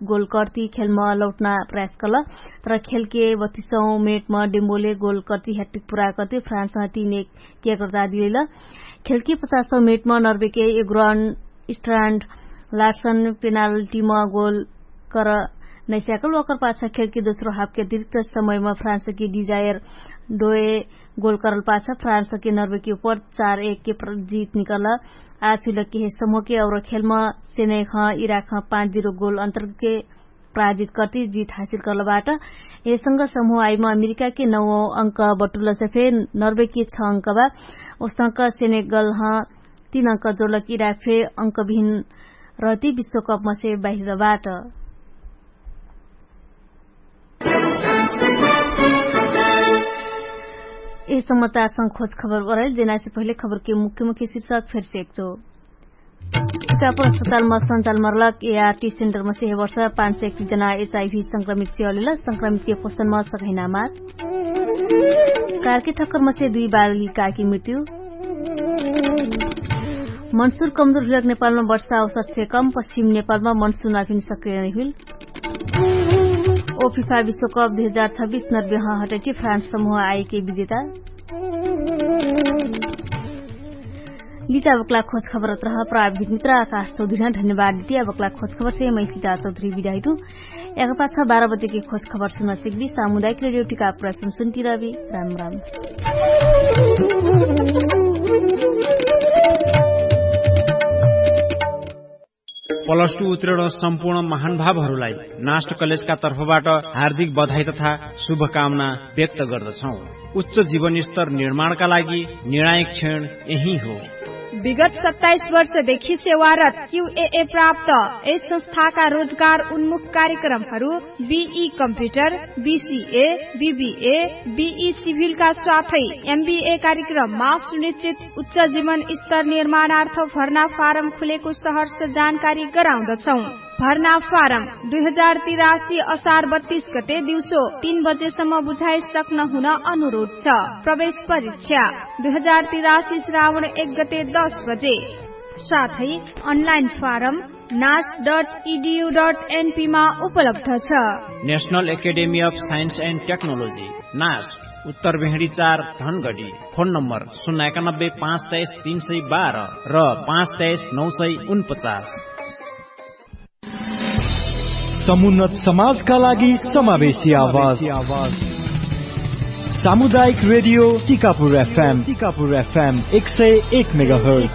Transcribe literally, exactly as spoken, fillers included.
गोल कर्ति खेलमा लौटना प्रयास कल। तर खेलके बत्तीसौं मिनेटमा डेम्बोले गोल कर्ति ह्याट्रिक पुरा कर्ति फ्रान्समा तीन एक किया कर्ता दिलैल। खेलके पचासौं मिनेटमा नर्वेके एग्रन स्ट्रान्ड लार्सन पेनाल्टीमा गोल कर नैस्याकल ओकर पाछा खेलके दोस्रो हाफके अतिरिक्त समयमा फ्रान्सके डिजायर डोए गोल करल पाछा फ्रान्सके नर्वेके उपर चार एक के जीत निकल। आज हुइलके हे समूहके और खेलमा सेनेख इराख पाँच जिरो गोल अन्तरके पराजित कर्ति जित हासिल कर्लबाट। एसँग समूह आइमा अमेरिकाके नौ अंक बटुलसे फे नर्वेके छ अंक बा। ओसंक सेनेगलह तीन अंक जोलक इराक फे अंक भिन्न रहति विश्वकपमसे बाहिरबाट। यह समाचारसँग खोज खबर बरैल जेनासे पहिले खबरके मुख्य मुख्य शिर्षक फेरसे एकचो। टिकापुर अस्पतालमा सञ्चालमा रलक एआरटी सेन्टरमसे हे वर्ष पाँच सय एकतिस जना एचआइभी संक्रमित सेवालेल संक्रमितके पोषणमा सघैना मार। कारके ठक्करमसे दुई बालिकाके मृत्यु। मनसुर कमजोर हुइलक नेपालमा वर्षा अवसरसे कम पश्चिम नेपालमा मनसुर नाफिन सक्रिय नै हुइल। ओफिफा विश्वकप दुई हजार छब्बिस नर्बेह हटैटी फ्रान्स समूह आइके विजेता। लिचा बक्ला खोज खबर अत्रह प्राविधिक मित्र आकाश चौधुरी। धन्यवाद लिटिया बक्ला खोज खबर से मै सीता चौधुरी बिदाहिटु। एक पाछा बाह्र बजेके खोज खबर सुन सिक्बी सामुदायिक रेडियो टिकापुर एफएम सुन्ती रहबी। राम राम। प्लस टु उत्तीर्ण सम्पूर्ण महानुभावहरूलाई नाष्ट कलेजका तर्फबाट हार्दिक बधाई तथा शुभकामना व्यक्त गर्दछौँ। उच्च जीवनस्तर निर्माणका लागि निर्णायक क्षण यही हो। विगत सत्ताइस वर्षदेखि सेवारत क्युएए प्राप्त यस संस्थाका रोजगार उन्मुख कार्यक्रमहरू बिई कम्प्युटर, बिसिए, बिबिए, बिई सिभिलका साथै एमबिए कार्यक्रममा सुनिश्चित उच्च जीवन स्तर निर्माणार्थ भर्ना फारम खुलेको सहर्ष जानकारी गराउँदछौँ। भर्ना फारम दुई हजार तिरासी असार बत्तीस गते दिउँसो तीन बजेसम्म बुझाइ सक्न हुन अनुरोध छ। प्रवेश परीक्षा दुई हजार तिरासी श्रावण एक गते दस बजे। साथै अनलाइन फारम नास डट इडियु डट एनपीमा उपलब्ध छ। National academy of science and technology, नास, उत्तर भेहडी चार, धनगडी। फोन नम्बर शून्य एकानब्बे पाँच तेइस तीन सय बाह्र र पाँच तेइस नौ सय उनपचास। समुन्नत समाजका लागि समावेशी आवाज। सामुदायिक रेडियो टिकापुर एफएम, टिकापुर एफएम एक सय एक मेगाहर्ट्ज।